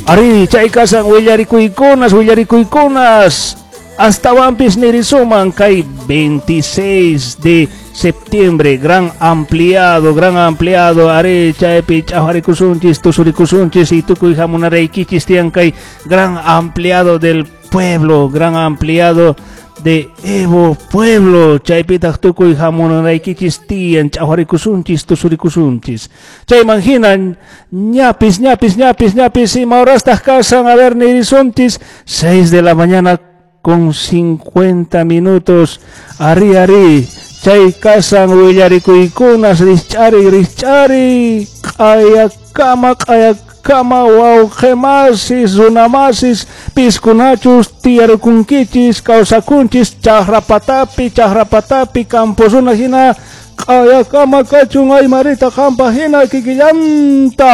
Ari, chay kasan willarikuykunas, willarikuykunas. Astawanpis nirisuman kay 26 de septiembre, gran ampliado, ari, chaypi ch'awharikusunchis, tusurikusunchis y tukuy hamunaraykichis tiyan kay gran ampliado del pueblo, gran ampliado de Evo Pueblo, chaypitaq tukuy hamunaraykichis tiyan ch'awharikusunchis, tusurikusunchis. Chayman hina ñapis, ñapis, ñapis, ñapis, ima horastaq kasan, a ver, nirisunchis, 6 de la mañana con 50 minutos, ari, ari, chay kasan willarikuykunas, rich'ari, rich'ari, q'ayakama, q'ayakama, wawqimasis, runamasis, piskunachus, tiyarukunkichis, kawsakunchis, chaqrapatapi, chaqrapatapi, campo runa hina, q'ayakama kachun aymarita qampa hina kikillanta.